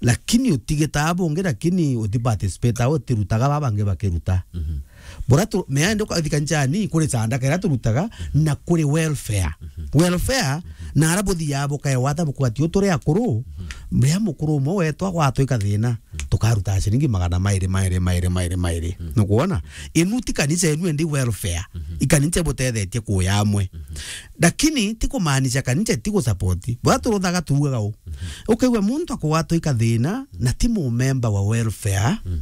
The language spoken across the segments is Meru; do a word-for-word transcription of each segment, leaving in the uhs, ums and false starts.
Lakini utigitaa bungi, lakini uti participate au utirutaga baba bangi bakiruta. Mhm. Bura tu, mea ndi ukathi kanisani, kuri sandaka iria turutaga, na kuri welfare. Mhm. Welfare, na ara buthiaga bukaewa ata bukwati u turi akuru, mhm, ria mukuru umwe wetu agwatwa ikathina, tukaruta ciringi magana mairi, mairi, mairi, mairi, mairi. Mm. Nukwona? Inu ti kanisa enu, endi welfare. Mhm. Ikanisa ibutethetie kuya amwe. Mhm. Lakini ti kumaanisha kanisa ti gusupport. Bwa turuthaga tuugaga u. Mhm. Ukaigua muntu akugwatwa ikathina, na ti mumemba wa welfare. Mm.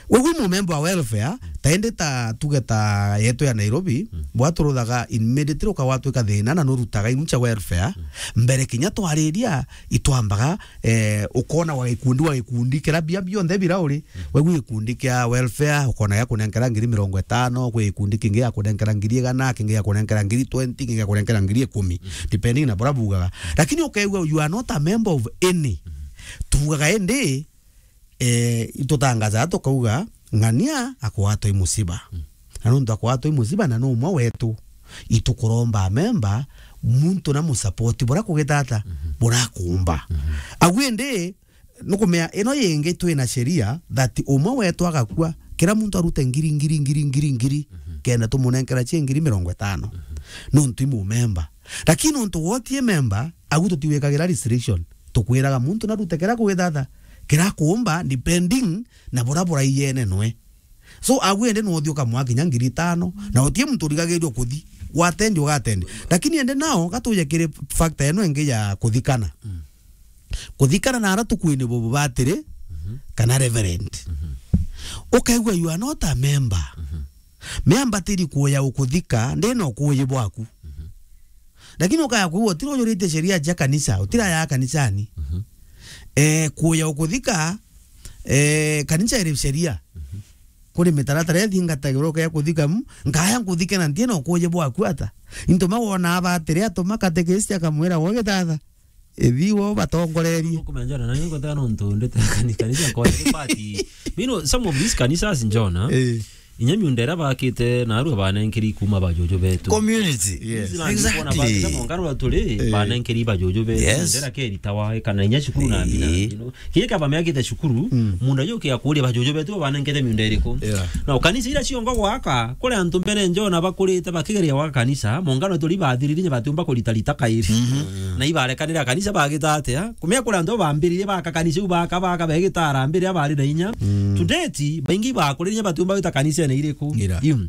Wewe mumemba wa welfare, ta indi ta tuge ta yetu ya Nairobi, mm, bwa turuthaga immediately ukagwatwa ikathina na nurutaga inu cia welfare. Mm. Mbere kinya twariria, itwambaga eh, ukona wa gikundi, wa gikundi, kira bia bionthe bira uri, mm, we gwi gikundi kia welfare, ukona gia kunenkera ngiri mirongo itano, gwi gikundi kingi gia kunenkera ngiri igana, kingi gia kunenkera ngiri twenty, kingi gia kunenkera ngiri ikumi, mm, depending na bura bugaga. Lakini ukaigua you are not a member of any. Mm. Tugaga indi, eh, itutangaza tukauga, ng'ania akwatwa i musiba. Mm. Na nontu akwatwa i musiba na no umwe wetu, itukuromba amemba, muntu na musapoti bura kugitata, mhm, burakumba. Mhm. Agu indi, nukumea, ino yingi twina sheria that umwe wetu agakua, kira muntu arute ngiri, ngiri, ngiri, ngiri, ngiri, mhm, kenda tumunenkera cie ngiri mirongo itano. Mhm. Nontu i mumemba. Lakini nontu wotie memba, agu tutiwikagira restriction. Tukwiraga muntu narute kira kwithatha, kira kuumba, depending na bura buraiene nwe. So, agu ende no uthi ukamwa kinya ngiri itano, na utie muntu urigagirwa kuthi, watendi ugatendi. Lakini ende nao, gatuje kiri factor eno ingi ya kuthikana. Mm. Kuthikana na ara tukwini bubu batiri, mhm, kana reverend. Mhm. Ukaigua you are not a member. Mhm. Miambatiri kuya ukuthika, ndina ukuyi bwaku. Mhm. Lakini ukaya kuigua, utira ujuritie sheria cia kanisa, utira ya kanisani. Mhm. Eh, kuya ukuthika, eh, kanisa iri sheria. Mhm. Kuri mitaratara ithingatagirwa ukaya kuthika, mm, nkaya nkuthike na ntina ukuyi bwaku ata. Into ma wona abatire atuma katekesi akamwira, "Gwe githatha, ithi wo batongorerie." Ukumenya Njona, na niko tano ntu ndete kani-, kanisa kwa party. You know, some of these kanisas Njona, eh, inya miunda iria bakite na arua banenkeri kuma bajuju betu. Community. Yes. Exactly. Mongaro turi, eh, banenkeri bajuju betu. Yes. Ndera keri tawa, kana inya cukuru na mbina, eh, you know. Kinya kaba meakite cukuru, mm, munda yuki akuria bajuju betu banenkete miunda iriku. Yeah. Na kanisa ira ciongo gwaka, kuri antu mbere Njona bakurite bakigeria gwaka kanisa, mongaro turi bathiriri nya batiumba kurita rita kairi. Mhm. Na ibarekanira kanisa bagita atia? Kumia kuri antu bambiririe baka kanisa iu baka, baka begita arambiriria bari na inya. Mm. To date, baingi bakuririe batiumba gwita kanisa ene iriku. Ira. Iu.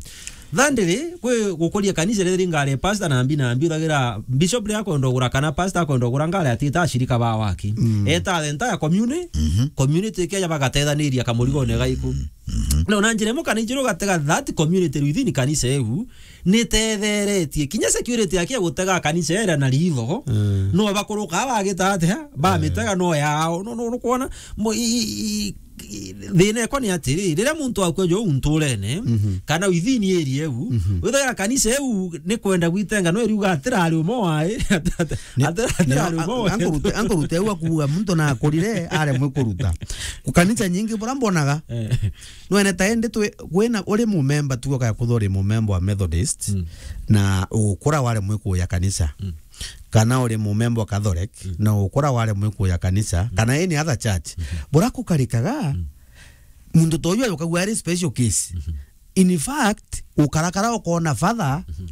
Thandiri, kwi gukuria kanisa riri ngari pastor na mbi na mbi, uthagira bishop ria kwenda ugura kana pastor akwenda ugura ngari atita ashirika ba waki. Mm. Eta the entire communi-, mhm, community keja bagatethaniria kamurigone gaiku. Mhm. No na njira imwe kana ijuru gatega that community within kanisa iu, ni tetheretie. Kinya security yake ya gutega kanisa ira na ritho, mm, no bakuruka bagita atia, bamitega no yao. No, no, no kuona, mo-, i-, i-, i-, i-, thina ekwa ni atiri, riria muntu akua jo unturene, mhm, kana within area iu, mhm, withagira kanisa iu ni kwenda gwitenga, no iriuga atirari umwe wae, ni, atirari umwe wae. Ankurute, ankurute au akuuga muntu na akurire aremwe kuruta. Ku kanisa nyingi bura mbonaga, eh. Nwene ta indi twi, wina, uri mumemba tu, ukaya kwithwa uri mumemba wa Methodist, mm, na ugukura waremwe kuya kanisa, mm, kana uri mumemba wa Catholic, mm, na ugukura waremwe kuya kanisa, mm, kana any other church, mm-hmm, bura kukarikaga, mm, muntu ta uyu ayukagua ari special case. Mm-hmm. In fact, ukarakara ukona father, mm-hmm,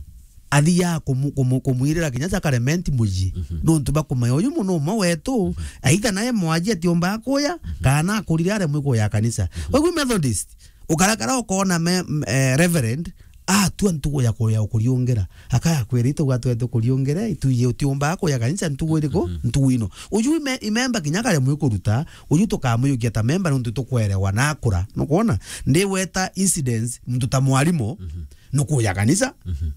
athiaga kumu-, kumu-, kumwirira kinya Sacrament muji. Mhm. Nontu bakumenya uyu muno umwe wetu, mhm, aitha nae mwaji atiumbaga kuya, mhm, kana akurire aremwe kuya kanisa. Mhm. Wegwi Methodist, ukarakara ukona me-, m-, eh, Reverend, atua ntugu ya kuya ukuriungira. Akaya kwira, "Itugwa twete kuriungira, ituye utiumbaga kuya kanisa ntugu iriku?" Mhm. Ntugu ino. Uyu ime-, imemba kinya karemwe kuruta, uyu tukamuyukia ta memba nontu tukwerewa na akura. Nukwona? Ndiweta incidents, muntu ta mwarimu, mhm, nukuya kanisa. Mhm.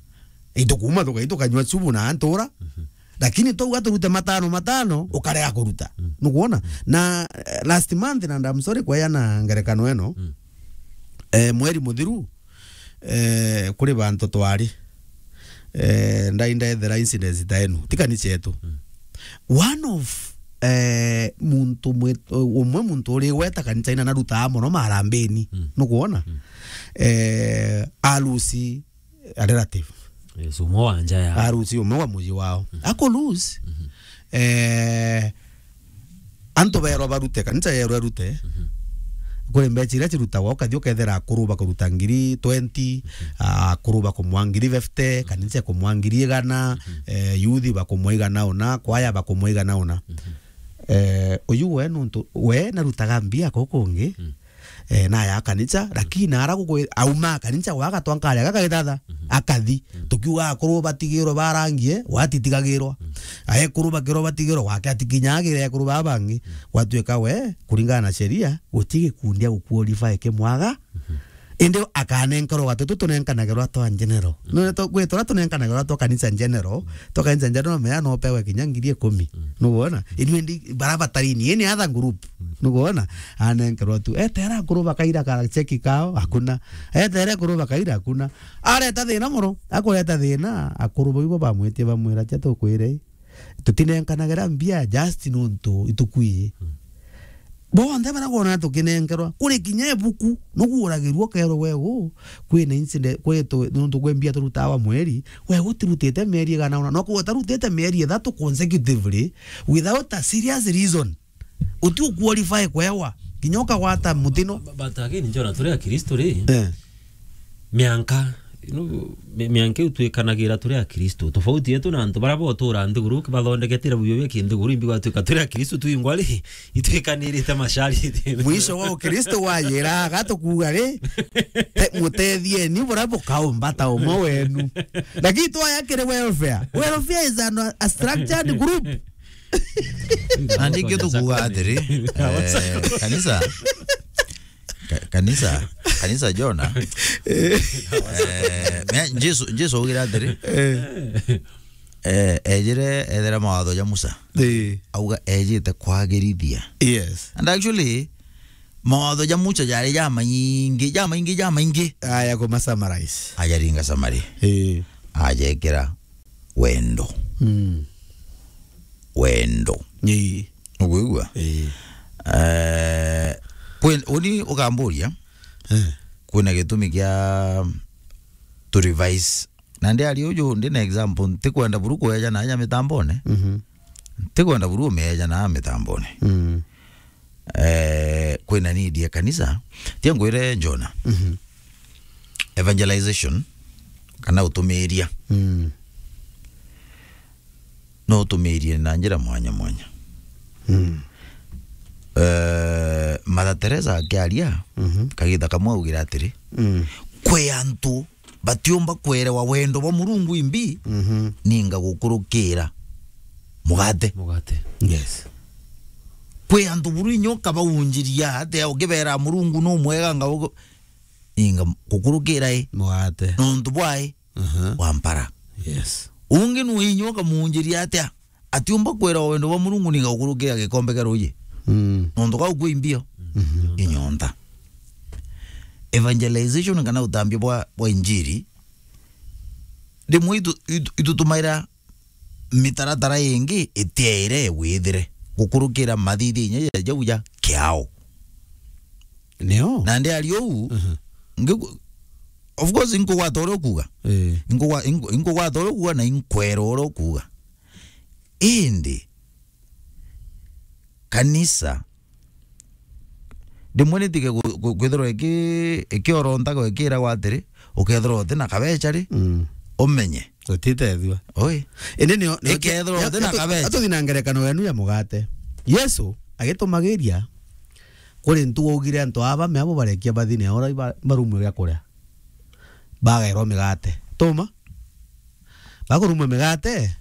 Itukuma tuka-, itukanywa subu na antura. Mhm. Lakini twauga turute matano matano, ukarega kuruta. Mhm. Nukwona? Mhm. Na, eh, last month, na I'm sorry kweana ngerekano eno, mhm, eh, mweri muthiru, eh, kuri bantu twari, eh, ndai ndethera incidents ta enu, ti kanisa yetu. Mhm. One of, eh, muntu mwe-, umwe muntu uri gweta kanisa ina narutaa mono marambini. Mhm. Nukwona? Mhm. Eh, arusi a relative. Yes, umwe wa nja ya. Arusi umwe wa muji wao. Mhm. Ako lose. Mhm. Eh, Antu beerwa barute, kanisa yeerwa irute. Kuri mbeca iria cirutagwa, ukathi ukethira akuru bakuruta ngiri twenty, akuru bakumwa ngiri fifty, kanisa ikumwa ngiri igana, eh, youth bakumwa igana una, kwaya bakumwa igana una. Eh, uyu we nuntu, we narutaga mbia kuu kungi, eh, na ya kanisa, lakini nara gukwi-, auma kanisa gwa agatwa nkari agakagithatha, akathi. Tukiuga akuru batigirwe barangie, gwatitigagirwa. Aekuru bakirwa batigirwa, gwake atikinyagire ekuru baba bangi. Gwatuika we, kuringana na sheria, guti gikundi aguqualify kimwaga. Indi akanenkerwa gatutu tunenkanagirwa twa general. None to, gwe tura tunenkanagirwa twa kanisa general, twa kanisa general mea no pewe kinya ngiri ikumi. Nukwona? Inu indi bara batarini, any other group. Nukwona? Anenkerwa tu. Etera akuru bakaira ka cheki kao, hakuna. Etere akuru bakaira, hakuna. Areta thina mono, akureta thina, akuru bau ibo bamwitie bamwira, "Tia tukwire, tutinenkanagira mbia just nuntu itukwii." Bonthe bara kwona tukinenkerwa, kuri kinya ibuku, nuguuragirua ukerwa, "Wegu, kwina incident, kwitu, nuntu kwi mbia turutaga wa mweri, wegu utirutite mieri igana una." No kuuga utarutite mieri ithatu consecutively without a serious reason. Uti uqualify kwewa, kinya ukagwata mutino. But again, Jona, turi Akristo ri, eh, mianka, you know, mi-, mianka iu twikanagira turi Akristo. Tofauti yetu na antu bara botura nthiguru, bathondekete ira buyo bia kinthiguru, imbi gwatuika turi Akristo twingwa ri, itwikanirite mashari. Mwisho wa Ukristo wayira, gatukuuga ri, te-, mutethieni bura bukaumba ta umwe wenu. Lakini twaya kiri welfare. Welfare is an, a structured group. Na nikio tukuuga atiri, eh, kanisa, ka-, kanisa, kanisa Jona. Eh, me-, Jesu, Jesu augire atiri, eh, ejire ethera mawatho ja Musa. Eh. Auga ejite kwagirithia. Yes. And actually, mawatho ja Musa jari jamaingi, jamaingi, jamaingi. Aya kuma summarize. Ajaringa summary. Eh. Ajekira wendo. Mm. Wendo. Ii. Ukwigua? Ii. Eh, kwi-, uni ukamburia, eh, kwina gitumi kia to revise. Na ndi ari uju, ndi na example, ntikwenda buru kweja na aja mitambone. Mhm. Ntikwenda buru umeja na mitambone. Mm. Eh, kwina need ya kanisa. Tia ngwire Jona. Mhm. Evangelization, kana utumiria. Mm. No utumirie na njira mwanya mwanya. Mm. Eh, Mother Teresa akiaria, mhm, kagita kamwe augire atiri, mm, kwi antu batiumba kwerewa wendo bwa Murungu imbi, mhm, ninga gukurukira mugate. Mugate. Yes. Kwi antu buru inya ukabaunjiria atia ukibera Murungu nu mwega nga ugu-, ninga gukurukira i. Mugate. Nontu bwa i. Aha. Wa mpara. Yes. Ungi nu inya ukamunjiria atia? Atiumba kwerewa wendo bwa Murungu ninga gukurukira gikombe kia ruuji. Mm. Nontu kau kwi mbio. Mhm. Inyontha. Evangelization kana utambia bwa, bwa injiri, rimwe itu-, itu-, itutumaira mitaratara ingi itiaire withire gukurukira mathithia inya ja jau ja kiao. Nio? Na ndi ari uu, mhm, ngiku-, of course, inkugwata uria ukuuga. Eh. Inkugwa-, inku-, inkugwata uria ukuuga na inkwera uria ukuuga. Indi, kanisa, rimwe nitige gu-, gu-, kwithirwa iki-, ikiorontaga ikiragwa atiri, ukethirwa uti na kabeca ri, mm, umenye. Utitethua. Oi. Indi nio, nio, ikethirwa nio, uti na nio, kabeca. Atuthi na ngerekano yenu ya mugate. Yesu agitumagiria kuri ntu augire antu aba me abo barekia bathine ora iba-, barumwe bia kuria. Bagairwa migate. Tuma? Bakurumwa migate.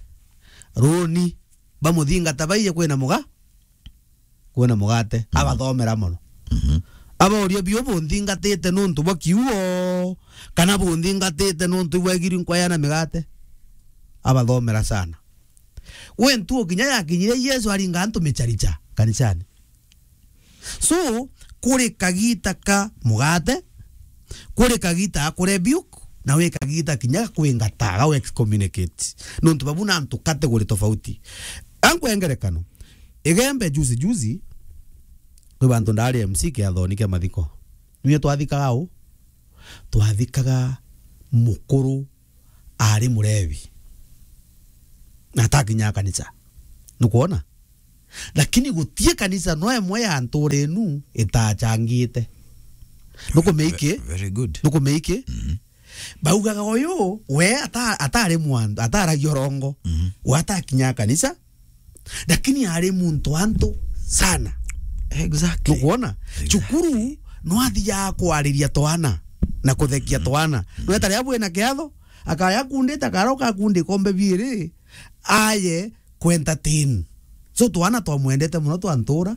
Runi. Bamuthingata baije kwina muga-, kwina mugate. Mhm. Abathomera mono. Mhm. Abauria, "Biu bunthingatite nuntu bwa kiuo, kana bunthingatite nuntu ibwegiri nkwayana migate?" Abathomera sana. Gwe ntuo kinya yakinyire Yesu aringa antu micharicha kanisani. So, kuri kagita ka mugate, kuri kagita ga kurebuke, na wi kagita kinya ga kwingata, ga excommunicate. Nontu babu na antu category tofauti. Ankwe ngerekano. Igembe juzi juzi, kwi bantu ndari M C kiathoni kia mathiko. Niwe twathikaga u? Twathikaga mukuru ari murebi. Na atakinya kanisa. Nukwona? Lakini gutie kanisa no emwe ya ntuura inu itachangite. Nukumea iki? Ve-, very good. Nukumea iki? Mhm. Baugaga uyu, we ata-, atari mwantu, ataragia urongo. Mhm. We atakinya kanisa, lakini ari muntu antu sana. Exactly. Nukwona? Exactly. Cukuru no athiaga kwariria twana na kuthekia twana. Mhm. No eta riria bwina kiatho, akaya akundite, akaroka akundika ombe biiri, aye ku entertain. So twana twamwendete mono twa ntuura,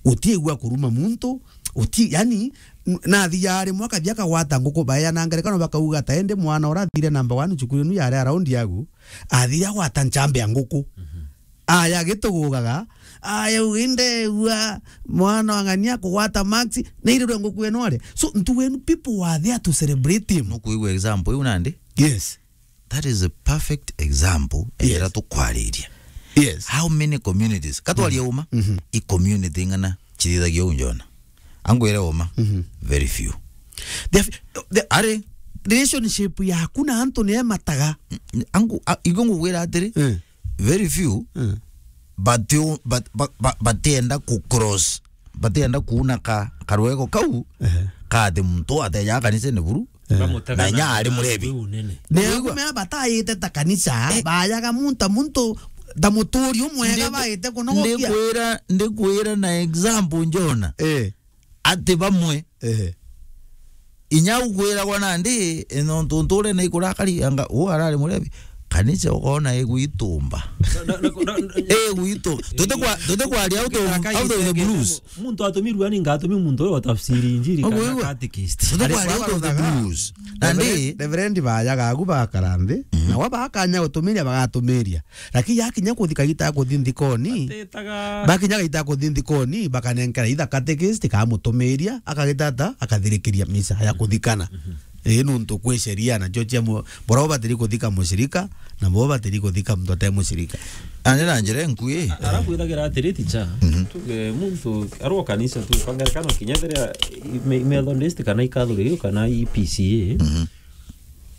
utiigua kuruma muntu, uti-, yani, n-, nathi yari mwaka thia kagwata nguku baeana ngerekano bakauga ta ende mwana ura athire number one cukuru inu yari around yagu, athire agwata nchambe ya nguku. Mhm. Aya gitugugaga, aya uga indegua mwana wa ng'ania kugwata marks, na irirwe nguku eno ari. So, ntu wenu people were there to celebrate him. Nukuigua example iu nandi? Yes. That is a perfect example. Yes. Ejera tukwariria. Yes. How many communities? Katwaria uma, mhm, i community ng'ana chithithagia uu njona. Angwire uma, mhm, very few. The, the, are relationship yaku na antu ni emataga. Mm, angu, a, igo ngugwira atiri, eh, very few, eh, but you, but, but, but, batienda ku cross, batienda kuuna ka, karwego kau, ehe, kati muntu ateja kanisene buru, eh, bamutega na inya na ari murebi. Wiu nene. Nigua? Nigumea batayite ta kanisa, eh, bayaga muntu, muntu ta muturi umwega. Ndiku-, baite kunogokia. Ndikwira, ndikwira na example njona. Eh. Ati bamwe. Ehe. Inya ukwiragwa nandi, e, nontu nturene ikurakari, anga, uu arari murebi. Kanisa ukona igwitumba. Na, na, na, na, igwitu-, tutikwa-, tutikwaria out of, out of the blues. Muntu atumirua ni ngatumi muntu uyu wa tafsiri injiri kana catechist. Tutikwaria out of the blues. Nandi Reverend, Reverend bayaga agu bagakara nthi, mhm, na wa bakanya gutumiria bagatumiria. Lakini yakinya kuthi kagita ya kuthi nthikoni, batetaga. Bakinya kagita ya kuthi nthikoni, bakanenkera itha catechist, kamutumiria, akagita ata, akathirikiria misa ya kuthikana. Mhm. Ii, nuntu kwi sheria nacio cia mu-, bora ubatiri kuthika mushirika, na bo batiri kuthika muntu ate mushirika. Andi na njira nkui. A-, arabu ithagira atiri, ticha. Mhm. Tuge muntu arwa kanisa tu, kwa ngerekano kinya thiria me-, Methodist kana i Catholic kana i P C A. Mhm.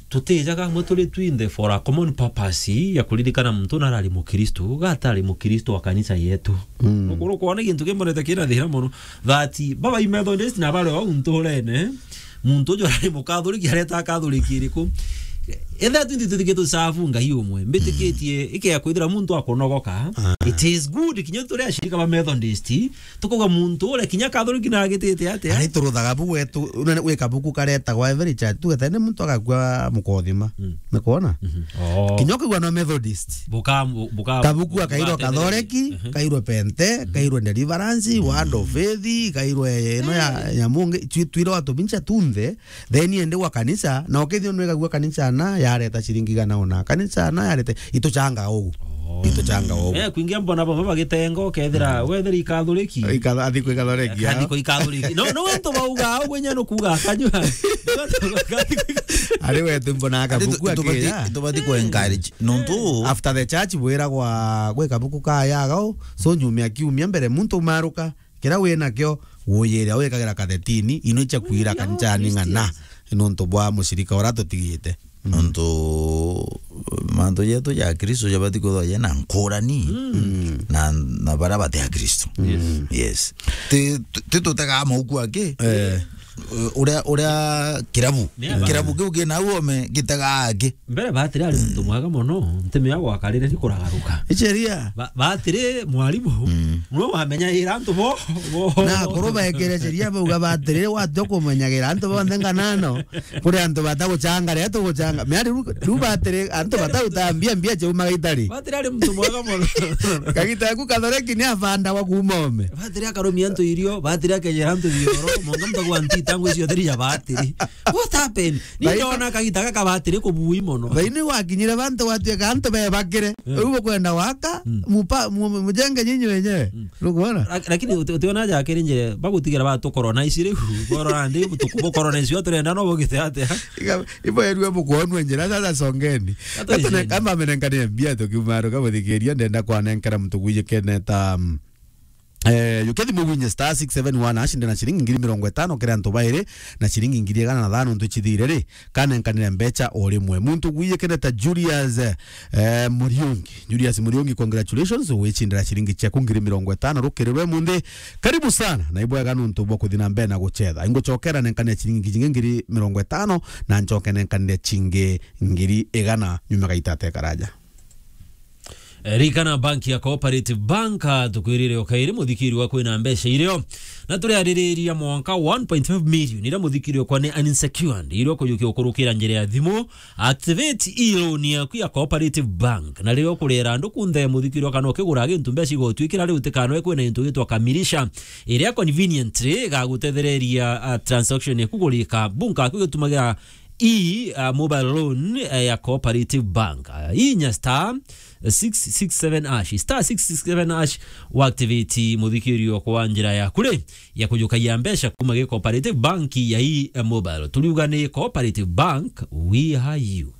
Tutijaga amwe turi twinthe for a common purpose ya kuririkana muntu na arari Mukristo, ga atari Mukristo wa kanisa yetu. Mm. Ukuru kwona gintu kimbonete kina thina mono, that baba i Methodist na bari au nturene, muntu uju arari Mukathoriki areta Kathoriki iriku? Etha twinthe tuthike tusavu Ngai umwe, mbitikitie, mm, ike ya kwithira muntu akunogoka, ah, it is good, kinya turi ashirika ba Methodist, tukuga muntu uria kinya Kathoriki na agitite atia? Ari turuthaga bu gwetu, una-, gwi kabuku karetagwa Every Church, tugeta ni muntu agakua mukothima. Mm. Ni kwona? Mhm. Oh. Kinya ukigua no Methodist. Buka-, bu-, buka-, kabuku akairwa bukatetheria. Kathoreki, mhm, kairwa Pente, mhm, kairwa Deliverance, mhm, Word of Faith, kairwa ino ya, eh, ya mungi, twi-, twirwa tumincha tunthe, then ende gwa kanisa, na ukethio nwegagua kanisa na yareta ciringi igana una. Kanisa na yareta, ituchanga ugu. Oh. Ituchanga ugu. Eh, kwingia mbona bamwe bagitenga, ukethira, mm, wethira ikathuriki. Ikatha-, athi kwi Kathoreki, athi ya. Kwi Kathoreki. No, no, antu bauga, ugu nya nukuga, akanyua. Ari we tu mbona. Ati tu-, kabuku tubati-, akira. Tubati ku encourage. Nontu after the church bwiragwa gwi kabuku kayagao, so nyumia kiumia mbere muntu umaruka. Kiria wi nakio, wuyire wikagira kathetini, ino icha kwira kanisani ng'ana, nontu bwa mushirika uria tutigite. Mm. Nontu mantu jetu ja Kristo jabati kwithwa jena nkurani, mm, na, na baria bati a Kristo. Yes. Yes. Ti, ti, ti tutega mauku aki. Eh. Uria, uria kirabu. Ni aba. Kirabu kiu kina uome gitega aki. Mbere batiri ari muntu mwega mono, ntimi ya gwakarire ni kuragaruka. Icheria. Ba-, batiri mwarimu, mm, no wamenyagira antu bo, bo. Na akuru baikire sheria bauga batiri, watio kumenyagira antu bonthe nganano, kuri antu bataguchanga, riria tuguchanga. Mea riu, riu batiri, antu batautambia mbia chaumaga itari. Batiri ari muntu mwega mono. Kagita yaku Kathoreki ni abandagwa kuuma ome. Batiri akarumia antu irio, batiri akejera antu bioro, monga muntu agwa ntita ngwi ciothe ria batiri. What happened? Ni ndona kagita gaka batiri kubui mono. Thaini wakinyire bantu gwatuika antu bebakire. Mm. Riu bukwenda gwaka, mm, mupa-, mu-, mujenge nyinyi wenyewe. Mm. Nukwona? Lak-, lakini uti-, utiona jakiri njire, bagutigira batukorwo na ici riu. Borora ndi, tuku-, bukorwo na icio turenda no bugite atia? Iga, ibo erue bukwonwe njira, sasa songeni. Gatujeni. Kama amenenkania mbia tukiuma ruka buthikiria, ndenda kwanenkera muntu gwijikene ta, mm, Eh, yukia thimu winye star six seven one hash, ndi na ciringi ngiri mirongo itano kiri antu bairi na ciringi ngiri igana na thano ntu icithire ri, kanenkanire mbecha o rimwe. Muntu gwiyikene ta Julius, eh, Muriungi. Julius Muriungi, congratulations, wicindira ciringi ciaku ngiri mirongo itano rukiri rwe munthi. Karibu sana, na ibwega nuntu bwa kuthi na mbere na gucetha. Ingucokera nenkanire ciringi cingi ngiri mirongo itano, na ncoke nenkanire cingi ngiri igana nyuma gaita atekaraja. Eh, ririkana banki ya Cooperative Bank, ah, tukwirire o kairi muthikiri wa kwina mbeca irio. Na turiaririria mwanka one point five million iria muthikiri okwa ni unsecured, irio kujukia ukurukira njira ya thimu, activate e-loan yaku ya Cooperative Bank. Na riria ukurira andu kunthe muthikiri okwa no kigura gintu mbeca igotwikira riu tikanoe kwina gintu gitwa kamilisha, iria conveniently igagutethereria, ah, transaction yaku kurika. Bunka aku gitumagira i, uh, mobile loan, uh, ya Cooperative Bank. Uh, inya star six six seven hash, star six six seven hash, uactivate muthikirio kwa njira ya kure ya kujukagia mbeca kuma gi Cooperative Bank ya i, uh, mobile. Turiuga ni Cooperative Bank, we are you.